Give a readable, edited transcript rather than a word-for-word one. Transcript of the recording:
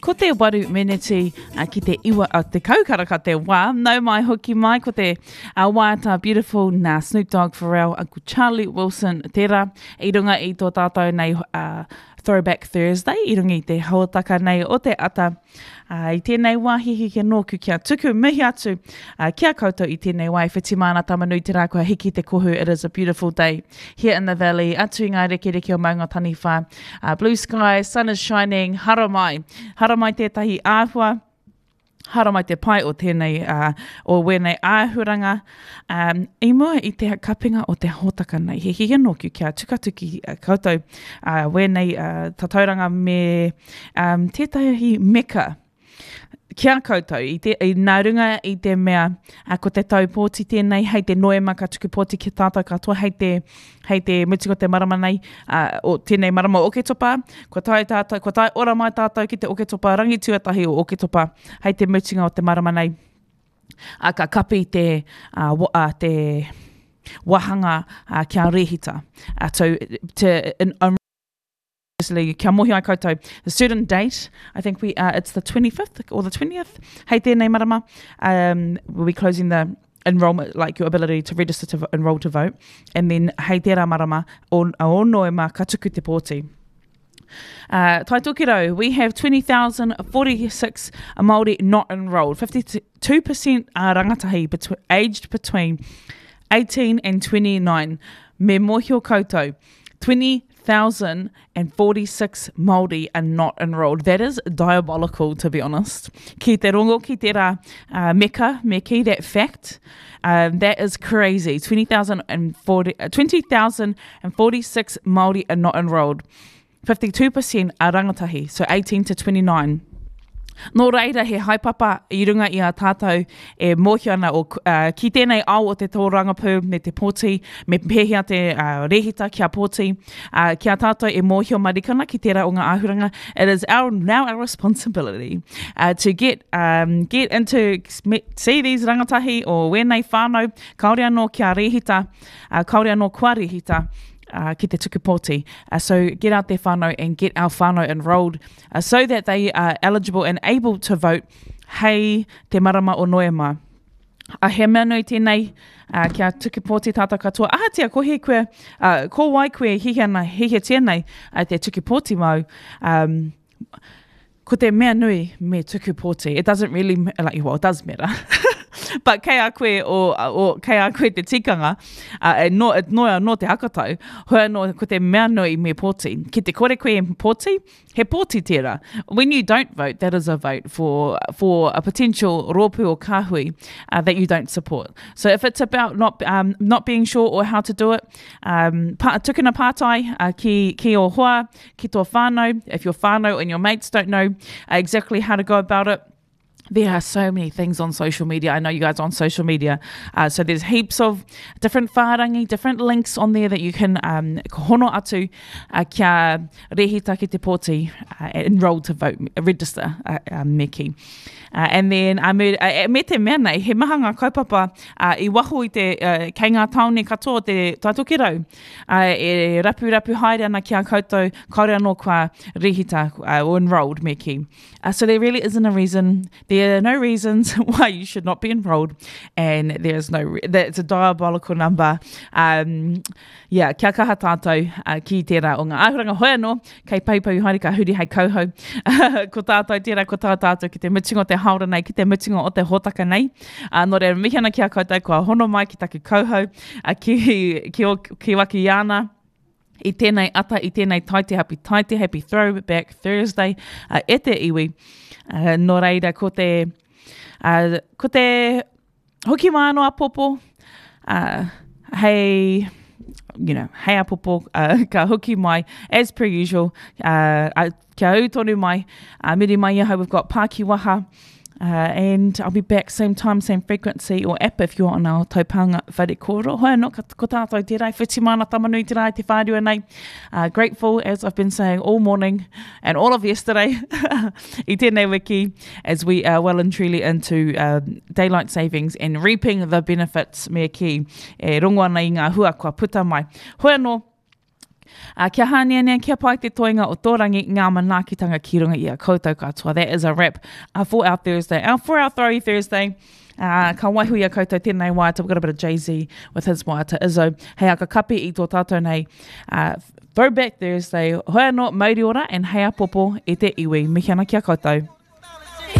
Ko te waru meneti ki te iwa a te kaukaraka te wā. Nau mai hoki mai ko te uh, waiata Beautiful nā Snoop Dogg Pharrell, Uncle Charlie Wilson tērā i runga i tō tātou nei uh, Throwback Thursday i runga i te hōtaka nei o te ata. Uh, I tēnei wā hihi nōku kia tuku mihi atu uh, ki a koutou i tēnei wā e whiti māna tamanui te rā kua hiki te kohu It is a beautiful day here in the valley atu i ngā rekereke o Maunga Taniwha uh, blue sky, sun is shining, haramai. Haramai tētahi āhua haramai te pai o tēnei, uh, o wēnei āhuranga. Um, I mua i te kapinga o te hōtaka nei, he hihi nōku kia tukatuki uh, koutou uh, wēnei uh, tatauranga me um, tētahi meka ki a koutou, i te, i, nā runga i te mea, uh, ko te tau pōti tēnei, hei te noema ka tuku pōti ki tātou katoa, hei te, hei te mutunga o te marama nei, uh, o tēnei marama o Oketopa, kua tae tātou, kua tae ora mai tātou ki te Oketopa, rangi tuatahi o Oketopa, hei te mutunga o te marama nei, uh, ka kapi te, uh, wa, uh, te wahanga uh, kia rehita. Uh, so, to, in, um, kia mohi ai koutou, a certain date, I think we, uh, it's the 25th or the 20th, hei tēnei marama, um, we'll be closing the enrollment, like your ability to register to enroll to vote, and then hei tērā marama, o, o Noema, ka tuku te pōti. Uh, Tai Tokerau, we have 20,046 Māori not enrolled. 52% are rangatahi between, aged between 18 and 29. Me mōhio koutou, 20,046 Māori are not enrolled. That is diabolical, to be honest. Ki te rongo ki tērā uh, meka, me ki that fact, um, that is crazy. 20,040, uh, 20,046 Māori are not enrolled. 52% are rangatahi, so 18 to 29. Nō reira, he haepapa i runga i a tātou e mōhio ana o, uh, ki tēnei ao o te tōrangapū me te pōti, me pēhea te uh, rehita kia pōti, uh, ki a tātou e mōhio marikana ki tērā o ngā āhuranga, it is our, now our responsibility uh, to get, um, get into, see these rangatahi o wēnei whānau, kāore anō kia rehita, uh, kāore anō kua rehita, uh, ki te tuku pōti. Uh, so get out there whānau and get our whānau enrolled uh, so that they are eligible and able to vote hei te marama o Noema. A he mea nui tēnei, uh, kia tuku pōti tātou katoa. Ahatia, ko he koe, uh, ko wai koe hihi ana, hihiatia nei uh, te tuku pōti mau. Um, ko te mea nui me tuku pōti. It doesn't really, like, well, it does matter. But kei a koe, o, o, kei a koe te tikanga, uh, e no, e noa no te hakatau, hoi anō ko te mea nui me pōti. Ki te kore koe e pōti, he pōti tērā. When you don't vote, that is a vote for, for a potential rōpū or kāhui uh, that you don't support. So if it's about not, um, not being sure or how to do it, um, pa, tukuna pātai uh, ki, ki o hoa, ki tō whānau, if your whānau and your mates don't know uh, exactly how to go about it, there are so many things on social media. I know you guys are on social media. Uh, so there's heaps of different whārangi, different links on there that you can um, hono atu uh, kia rehita ki te pōti, uh, enroll to vote, register, uh, um, me ki. Uh, and then, uh, me, uh, me te mea nei, he maha ngā kaupapa uh, i waho i te, uh, kei ngā tāone katoa o te Taitokerau. Uh, e rapu rapu haere ana ki a koutou, kaore anō kua rehita uh, or enrolled me ki. Uh, so there really isn't a reason. There are no reasons why you should not be enrolled, and there is no. Re- it's a diabolical number. Um, yeah, kia kaha tātou uh, ki tērā o ngā āhuranga hoi anō, kei paupau haere ka huri hei kauhau. ko tātou tērā, ko tā tātou ki te mutunga o te haora nei, ki te mutunga o te hōtaka nei. Uh, nō reira, mihi ana ki a koutou kua hono mai ki taku kauhau, uh, ki, ki, o, ki waki ana i tēnei ata, i tēnei taite happy taite, happy throwback Thursday uh, e te iwi. Uh, nō reira, ko te, uh, ko te hoki mai anō apopo, uh, hei, you know, hei apopo, uh, ka hoki mai, as per usual, uh, uh, kia ū tonu mai, uh, miri mai ahau, we've got Pākiwaha, Uh, and I'll be back same time, same frequency or app if you're on our taupānga whare kōrero. Hoi anō, ka, ko tātou tērā, i whiti mana tamanui te rā i te whārua nei. Uh, grateful, as I've been saying all morning and all of yesterday, i tēnei wiki, as we are well and truly into um, daylight savings and reaping the benefits me ki e rongo ana i ngā hua kua puta mai. Hoi anō, Uh, kia hāneanea, kia pai te toenga o tō rangi, ngā manaakitanga ki runga i a koutou katoa. That is a wrap uh, for our Thursday, uh, for our Throwy Thursday. Uh, ka waiho i a koutou tēnei waiata. We've got a bit of Jay-Z with his waiata Izzo. Hei aka kapi i tō tātou nei uh, Throwback Thursday. Hoi anō, mauri ora and hei apopo e te iwi. Mihi ana ki a koutou.